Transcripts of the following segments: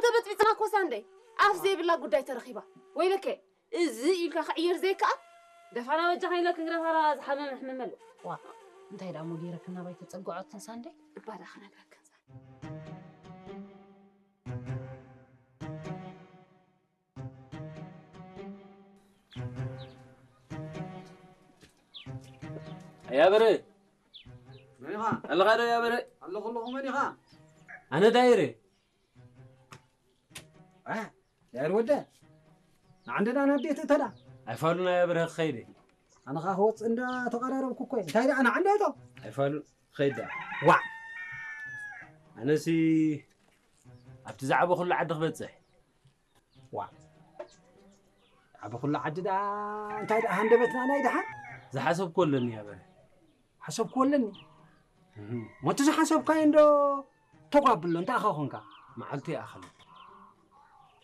ተበጥቢጥና ኮሳ እንደ ኣፍ ዘይብላ ጉዳይ ተረኺባ። ወይለከ፣ እዚ ኢልካ ክዕየር ዘይከኣል። ደፋና በጃኻ ኢለ ክንግረፋ ዝሓመመ ሕመመሉ። ዋ፣ እንታይ ደኣ እሞ ገይረክን ናባይ ተጸግዖትን ሳንደይ? እባ ደኣ ክነግረክን ሳንደይ። ኣያ በረ። መን ኢኻ? ኣለኻ ዶ ኣያ በረ? ኣለኹ ኣለኹ፣ መን ኢኻ? ኣነ ዳይረ። እ፣ ዳይር ወደ። ንዓንደ ዳ ናብ ቤት እተዳ። ኣይፋሉን ኣያ በረ ክኸይደ። ኣነ ኸዓ ክወፅእ እንዳ ተቐራረብኩ እኮ እየ። እንታይ ደኣ ንዓንደ እቶ? ኣይፋሉን፣ ኸይድ ደኣ። ዋዕ። ኣነሲ ኣብቲ ዝዓበኹሉ ዓዲ ክበፅሕ። ዋዕ። ዓበኹሉ ዓዲ ደኣ እንታይ ደኣ ሃንደበትና ናይ ደሓን? ዝሓሰብኩ ኣለኒ ኣያ በረ። ሓሰብኩ ኣለኒ። እህ። ሞቲ ዝሓሰብካዮ እንዶ ተጓብሎ እንታይ ኣኻ ኾንካ? መዓልቲ ይኣኽል።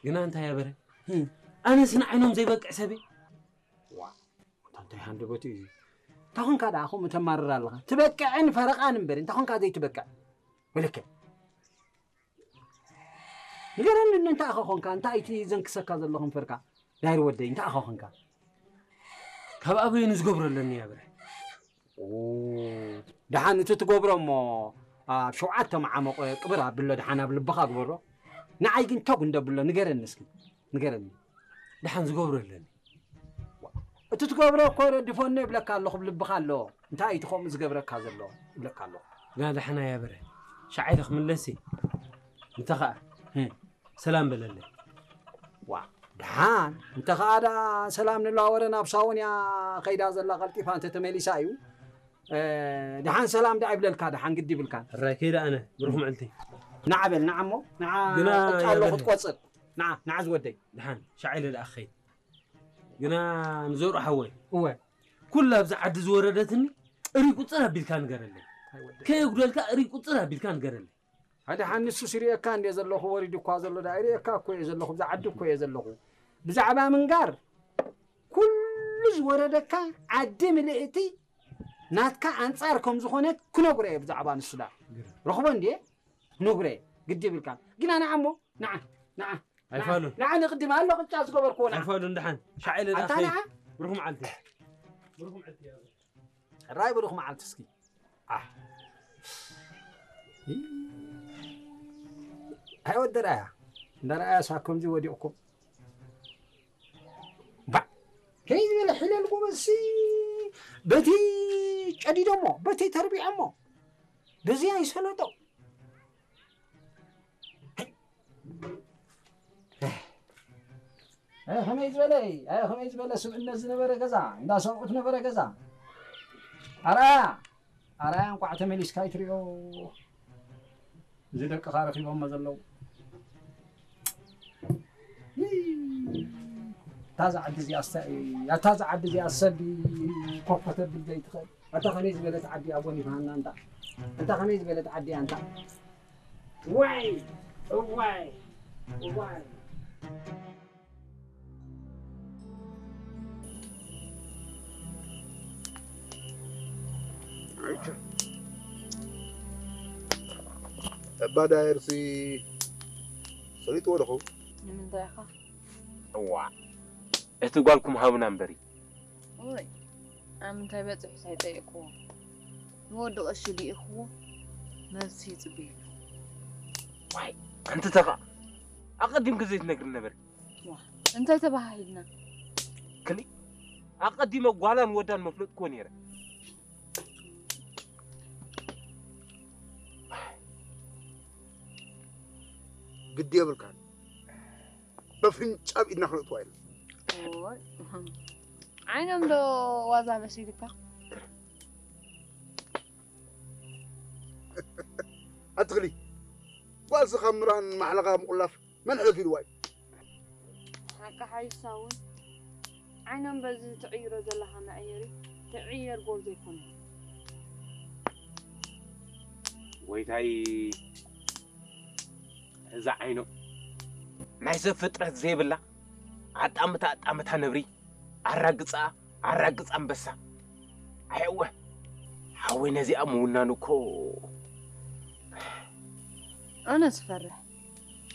ግና እንታይ ኣያ በረ? እህ። ኣነስ ንዓይኖም ዘይበቅዕ ሰብ እየ። ዋዕ። እንታይ ሃንደበት እዩ? እንታይ ኾንካ ደኣ ከምኡ ተማርር ኣለኻ? ትበቅዕን ፈረቓን እምበር እንታይ ኾንካ ዘይትበቅዕ? ወለከ። ንገረኒ፣ እንታይ ኢኻ ኾንካ? እንታይ እቲ ዘንክሰካ ዘሎ ከንፈርካ? ዳይር ወደይ፣ እንታይ ኢኻ ኾንካ? ካብ ኣበይ ንዝገብሮ ኣለኒ ኣያ በረ። ኦ፣ ደሓን እቲ ትገብሮ እሞ ኣብ ሸውዓተ መዓመቆ ቅብር ኣብሎ፣ ደሓን ኣብ ልብኻ ግበሮ። ንዓይ ግን ተጉ እንደብሎ፣ ንገረኒ እስኪ፣ ንገረኒ። ደሓን ዝገብሮ ኣለኒ። እቲ ትገብሮ እኮ ረዲፎኒ ይብለካ ኣለኹ፣ ኣብ ልብኻ ኣሎ። እንታይ እቲ ከምኡ ዝገብረካ ዘሎ ይብለካ ኣለኹ። ግና ደሓን ኣያ በረ። ሻዕ ኢለ ክምለስ እየ። እንተ ኸኣ፣ ህም። ሰላም በለለይ። ዋ፣ ደሓን። እንተ ኸኣ ደኣ ሰላም ንለዋወረ፣ ናብ ሳውን እያ ኸይዳ ዘላ፣ ቀልጢፋ እንተ ተመሊሳ እዩ። እ፣ ደሓን ሰላም ደኣ ይብለልካ፣ ደሓን ግዲ ይብልካን። ሕራይ ከይደ ኣነ፣ ብሩኽ መዓልቲ። ንዓ በል፣ ንዓ እሞ፣ ንዓ ግና ቅጫ ኣሎ ኣያ በረ። ክትቆጽር። ንዓ፣ ንዓ ዝወደይ። ደሓን፣ ሻዕ ኢለ ደኣ ክኸይድ። ግና ንዘርኡ ሓወይ፣ እወ። ኩላ ኣብዚ ዓዲ ዝወረደትኒ እሪ ቁጽር ኣቢልካ ንገረለይ። ኣይ ወደይ። ከየጉደልካ እሪ ቁጽር ኣቢልካ ንገረለይ። ሓደ ሓንሱ ሲሪኤካ እንደ ዘለኹ ወሪዱ እኳ ዘሎ ደኣ ይሪኤካ እኮ እየ ዘለኹ፣ ብዛ ዓዲ እኮ እየ ዘለኹ። ብዛዕባ ምንጋር ኩሉ ዝወረደካ ዓዲ ምልእቲ ናትካ ኣንጻር ከም ዝኾነት ክነግሮ እየ ብዛዕባ ንሱ ደኣ። ግርም። ረኽቦ እንድየ ክነግሮ እየ። ግዲ ይብልካ። ግና ንዓ እሞ፣ ንዓ፣ ንዓ። ኣይፋሉን። ንዓ ንቕድም ኣሎ ቅጫ ዝገበርክዎ ንዓ። ኣይፋሉን ደሓን። ሻዕ ኢለ ኣታ ደኣ ንዓ። ብሩኽ መዓልቲ። ብሩኽ መዓልቲ እያ። ሕራይ ብሩኽ መዓልቲ እስኪ። ኣህ። ኣይ ወዲ ረኣያ። እንዳ ረኣያ ሳብ ከምዚ ወዲቕኩም። ባዕ። ከይ ዝበለ ሕለል ጎበዝሲ በቲ ጨዲዶሞ፣ በቲ ተርቢዖሞ፣ በዚ ኣይሰለጦ። ኣይ፣ ከመይ ዝበለ፣ ኣይ፣ ከመይ ዝበለ ስብእነት ዝነበረ ገዛ፣ እንዳ ሰብኡት ነበረ ገዛ። ኣርኣያ፣ ኣርኣያ እንቋዕ ተመሊስካ ኣይትሪኦ። እዚ ደቅኻ ረኺቦሞ ዘለዉ። ይይ፣ እታ ዝዓዲ እዚኣስ፣ ኣታ ዝዓዲ እዚኣ ሰብ ኮፍ ከተብል ዘይትኽእል። ኣታ ከመይ ዝበለት ዓዲ እያ ጎኒፍሃና እንታ። ኣታ ከመይ ዝበለት ዓዲ እያ እንታ። ዋይ፣ እዋይ፣ እዋይ። እባ ዳየርሲ ሰሊጥዎ ዶ ኸውን? ንምንታይ ኢኻ? እዋ፣ እቲ ጓልኩም ሃቡና እምበሪ። ኦይ፣ ኣብ ምንታይ በጺሑስ ኣይጠየቅኩዎ። ንወዲ ቀሺ ልኢኽዎ፣ መልሲ ይጽበየሉ። ዋይ፣ ኣንቲ ተኻ፣ ኣቐዲምኪ ዘይትነግሪ ነበሪ። ዋ፣ እንታይ ተባሃሂልና? ክሊ፣ ኣቐዲመ ጓላን ወዳን መፍለጥክዎ ነይረ። ግዲ የብልካን። በፍንጫ ኣብ ኢድና ክነእትዋ ኢልና። ኦይ፣ ዓይኖም ዶ ዋዛ መሲልካ? ኣትኽሊ፣ ጓልሲ ካብ ምራን ማሕለኻ ምቑላፍ መን ሕለፍ ኢልዋ እዩ? ሓቂ ሓይሳ እውን ዓይኖም በዚ ትዕይሮ ዘለኻ መዐየሪ ትዕየር ጎል ዘይኮነ። ጎይታይ፣ እዛ ዓይኖ ናይ ሰብ ፍጥረት ዘይብላ ኣጣምታ ኣጣምታ ነብሪ፣ ኣራግጻ ኣራግጻ ኣንበሳ። ኣየወ፣ ሓወይ ነዚኣ ምውናን እኮ። ኣነ ዝፈርሕ